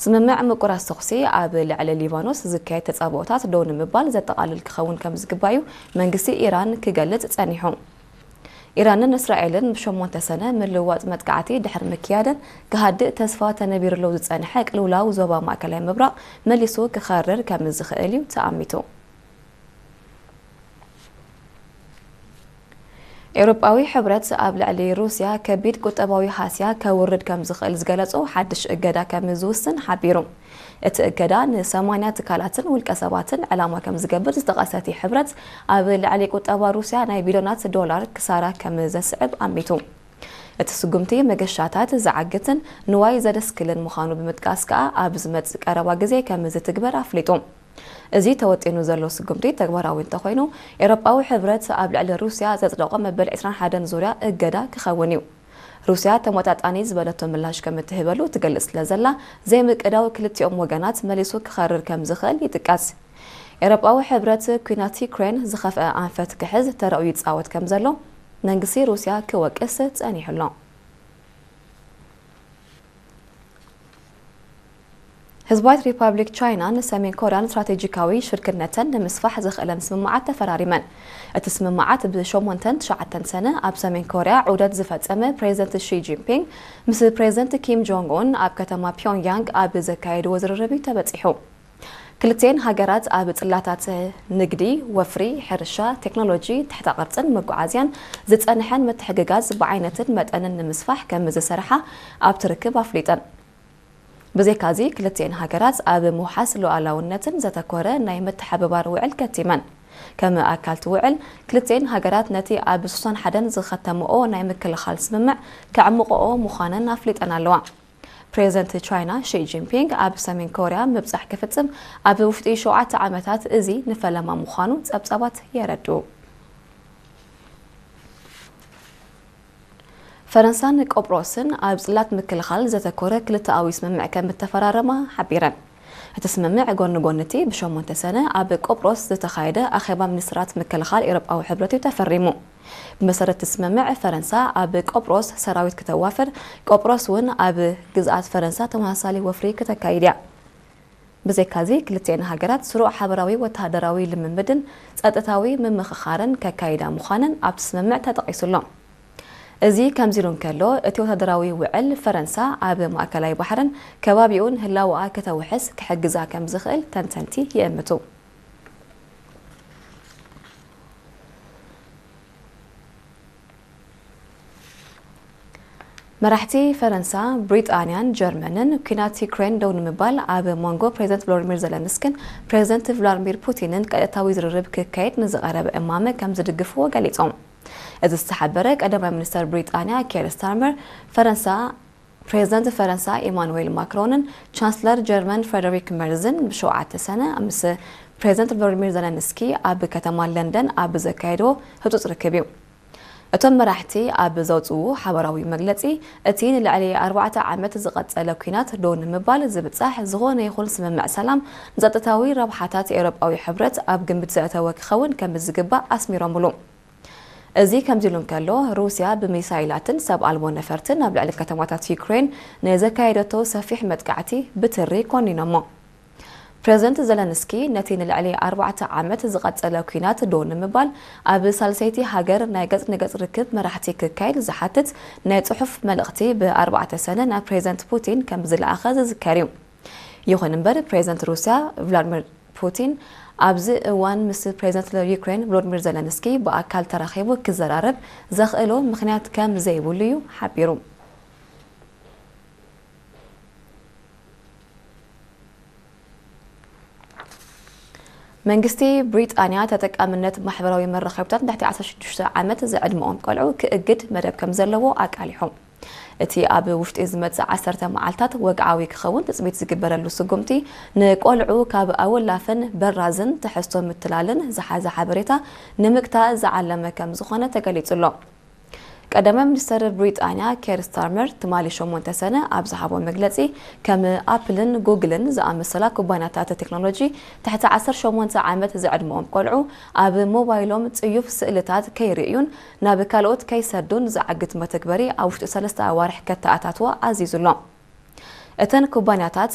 ስምምዕ ምቁራስ ተኹሲ ኣብ ልዕሊ ሊባኖስ ዝካየድ ተጻብኦታት ደው ንምባል ዘጠቓልል ክኸውን ከም ዝግባዩ መንግስቲ ኢራን ክገልጽ ጸኒሑ። ኢራንን እስራኤልን ብሸሞንተ ሰነ ምልውዋጥ መጥቃዕቲ ድሕሪ ምክያደን፣ ክሃድእ ተስፋ ተነቢሩሉ ዝጸንሐ ቅልውላው ዞባ ማእከላይ ምብራቕ መሊሱ ክኸርር ከም ዝኽእል እዩ ተኣሚቱ። ኤውሮጳዊ ሕብረት ኣብ ልዕሊ ሩስያ ከቢድ ቁጠባዊ ሃስያ ከውርድ ከም ዝኽእል ዝገለጾ ሓድሽ እገዳ ከም ዝውስን ሓቢሩ። እቲ እገዳ ንሰማንያ ትካላትን ውልቀ ሰባትን ዕላማ ከም ዝገብር ዝጠቐሰ እቲ ሕብረት፣ ኣብ ልዕሊ ቁጠባ ሩስያ ናይ ቢልዮናት ዶላር ክሳራ ከም ዘስዕብ ኣሚቱ። እቲ ስጉምቲ መገሻታት ዝዓግትን ንዋይ ዘደስክልን ምዃኑ ብምጥቃስ ከኣ፣ ኣብ ዝመጽእ ቀረባ ግዜ ከም ዝትግበር ኣፍሊጡ። እዚ ተወጢኑ ዘሎ ስጉምቲ ተግባራዊ እንተኾይኑ፣ ኤውሮጳዊ ሕብረት ኣብ ልዕሊ ሩስያ ዘጽደቖ መበል ዕስራን ሓደን ዙርያ እገዳ ክኸውን እዩ። ሩስያ ተመጣጣኒ ዝበለቶ ምላሽ ከም እትህበሉ ትገልጽ ስለ ዘላ፣ ዘይምቅዳው ክልቲኦም ወገናት መሊሱ ክኸርር ከም ዝኽእል ይጥቀስ። ኤውሮጳዊ ሕብረት፣ ኲናት ዩክሬን ዝኸፍአ ኣንፈት ክሕዝ ተራኡ ይጻወት ከም ዘሎ መንግስቲ ሩስያ ክወቅስ ጸኒሑ ኣሎ። ህዝባዊት ሪፓብሊክ ቻይናን ሰሜን ኮርያን ስትራቴጂካዊ ሽርክነተን ንምስፋሕ ዘኽእለን ስምምዓት ተፈራሪመን። እቲ ስምምዓት ብሸሞንተን ትሽዓተን ሰነ ኣብ ሰሜን ኮርያ ዑደት ዝፈጸመ ፕሬዚደንት ሺ ጂንፒንግ ምስ ፕሬዚደንት ኪም ጆንግ ኡን ኣብ ከተማ ፒዮንግያንግ ኣብ ዘካየድዎ ዝርርብ እዩ ተበጺሑ። ክልቲኤን ሃገራት ኣብ ጽላታት ንግዲ፣ ወፍሪ፣ ሕርሻ፣ ቴክኖሎጂ፣ ትሕተ ቅርጽን መጓዓዝያን ዝጸንሐን ምትሕግጋዝ ብዓይነትን መጠንን ንምስፋሕ ከም ዝሰርሓ ኣብቲ ርክብ ኣፍሊጠን። ብዘይካዚ፣ ክልቲኤን ሃገራት ኣብ ምውሓስ ሉዓላውነትን ዘተኮረ ናይ ምትሕብባር ውዕል ከቲመን። ከም ኣካልቲ ውዕል፣ ክልቲኤን ሃገራት ነቲ ኣብ ሱሳን ሓደን ዝኸተምኦ ናይ ምክልኻል ስምምዕ ከዕምቆኦ ምዃነን ኣፍሊጠን ኣለዋ። ፕሬዚደንት ቻይና ሺ ጂንፒንግ ኣብ ሰሜን ኮርያ ምብጻሕ ክፍጽም ኣብ ውሽጢ ሸውዓተ ዓመታት፣ እዚ ንፈለማ ምዃኑ ጸብጻባት የረድኡ። ፈረንሳን ቆጵሮስን ኣብ ጽላት ምክልኻል ዘተኮረ ክልተኣዊ ስምምዕ ከም እተፈራረማ ሓቢረን። እቲ ስምምዕ ጎኒ ጎኒ እቲ ብሸሞንተ ሰነ ኣብ ቆጵሮስ ዝተኻየደ ኣኼባ ሚኒስትራት ምክልኻል ኤውሮጳዊ ሕብረት እዩ ተፈሪሙ። ብመሰረት እቲ ስምምዕ፣ ፈረንሳ ኣብ ቆጵሮስ ሰራዊት ክተዋፍር፣ ቆጵሮስ እውን ኣብ ግዝኣት ፈረንሳ ተመሳሳሊ ወፍሪ ክተካይድ እያ። ብዘይካዚ፣ ክልቲኤን ሃገራት ስሩዕ ሓበራዊ ወተሃደራዊ ልምምድን ጸጥታዊ ምምኽኻርን ከካይዳ ምዃነን ኣብቲ ስምምዕ ተጠቒሱ ኣሎ። እዚ ከምዚ ኢሉ እንከሎ፣ እቲ ወተሃደራዊ ውዕል፣ ፈረንሳ ኣብ ማእከላይ ባሕርን ከባቢኡን ህላወኣ ከተውሕስ ክሕግዛ ከም ዝኽእል ተንተንቲ ይእምቱ። መራሕቲ ፈረንሳ፣ ብሪጣንያን ጀርመንን፣ ኲናት ዩክሬን ደው ንምባል ኣብ መንጎ ፕሬዚደንት ቮሎዲሚር ዘለንስኪን ፕሬዚደንት ቭላድሚር ፑቲንን ቀጥታዊ ዝርርብ ክካየድ ንዝቐረበ እማመ ከም ዝድግፍዎ ገሊጾም። እዚ ዝተሓበረ፣ ቀዳማይ ሚኒስተር ብሪጣንያ ኬር ስታርመር፣ ፈረንሳ፣ ፕሬዚደንት ፈረንሳ ኢማኑዌል ማክሮንን ቻንስለር ጀርመን ፍሬደሪክ መርዝን ብሸውዓተ ሰነ ምስ ፕሬዚደንት ቮሎዲሚር ዘለንስኪ ኣብ ከተማ ለንደን ኣብ ዘካየድዎ ህጹጽ ርክብ እዩ። እቶም መራሕቲ ኣብ ዘውጽኡ ሓበራዊ መግለጺ፣ እቲ ንልዕሊ ኣርባዕተ ዓመት ዝቐጸለ ኲናት ደው ንምባል ዝብጻሕ ዝኾነ ይኹን ስምምዕ ሰላም ንጸጥታዊ ረብሓታት ኤውሮጳዊ ሕብረት ኣብ ግምት ዘእተወ ክኸውን ከም ዝግባእ ኣስሚሮምሉ። እዚ ከምዚ ኢሉ እንከሎ፣ ሩስያ ብሚሳይላትን ሰብ ኣልቦ ነፈርትን ኣብ ልዕሊ ከተማታት ዩክሬን ንዘካየደቶ ሰፊሕ መጥቃዕቲ ብትሪ ኮኒኖሞ። ፕሬዚደንት ዘለንስኪ ነቲ ንልዕሊ ኣርባዕተ ዓመት ዝቐጸለ ኲናት ደው ንምባል፣ ኣብ ሳልሰይቲ ሃገር ናይ ገጽ ንገጽ ርክብ መራሕቲ ክካየድ ዝሓትት ናይ ጽሑፍ መልእኽቲ ብኣርባዕተ ሰነ ናብ ፕሬዚደንት ፑቲን ከም ዝለኣኸ ዝዝከር እዩ። ይኹን እምበር፣ ፕሬዚደንት ሩስያ ቭላድሚር ፑቲን ኣብዚ እዋን ምስ ፕሬዚደንት ዩክሬን ቮሎዲሚር ዘለንስኪ ብኣካል ተራኺቡ ክዘራረብ ዘኽእሎ ምኽንያት ከም ዘይብሉ እዩ ሓቢሩ። መንግስቲ ብሪጣንያ ተጠቃምነት ማሕበራዊ መራኸቢታት ንትሕቲ ዓሰርተ ሽዱሽተ ዓመት ዝዕድመኦም ቆልዑ ክእግድ መደብ ከም ዘለዎ ኣቃሊሑ። እቲ ኣብ ውሽጢ ዝመጽእ ዓሰርተ መዓልታት ወግዓዊ ክኸውን ትጽቢት ዝግበረሉ ስጉምቲ፣ ንቆልዑ ካብ ኣወላፍን በራዝን ትሕዝቶ ምትላልን ዝሓዘ ሓበሬታ ንምግታእ ዝዓለመ ከም ዝኾነ ተገሊጹ ኣሎ። ቀዳማይ ሚኒስተር ብሪጣንያ ኬር ስታርመር ትማሊ ሸሞንተ ሰነ ኣብ ዝሃቦ መግለጺ፣ ከም ኣፕልን ጉግልን ዝኣመሰላ ኩባንያታት ቴክኖሎጂ ትሕቲ ዓሰርተ ሸሞንተ ዓመት ዝዕድመኦም ቆልዑ ኣብ ሞባይሎም ጽዩፍ ስእልታት ከይርእዩን ናብ ካልኦት ከይሰዱን ዝዓግት መተግበሪ ኣብ ውሽጢ ሰለስተ ኣዋርሕ ከተኣታትዋ ኣዚዙ ኣሎ። እተን ኩባንያታት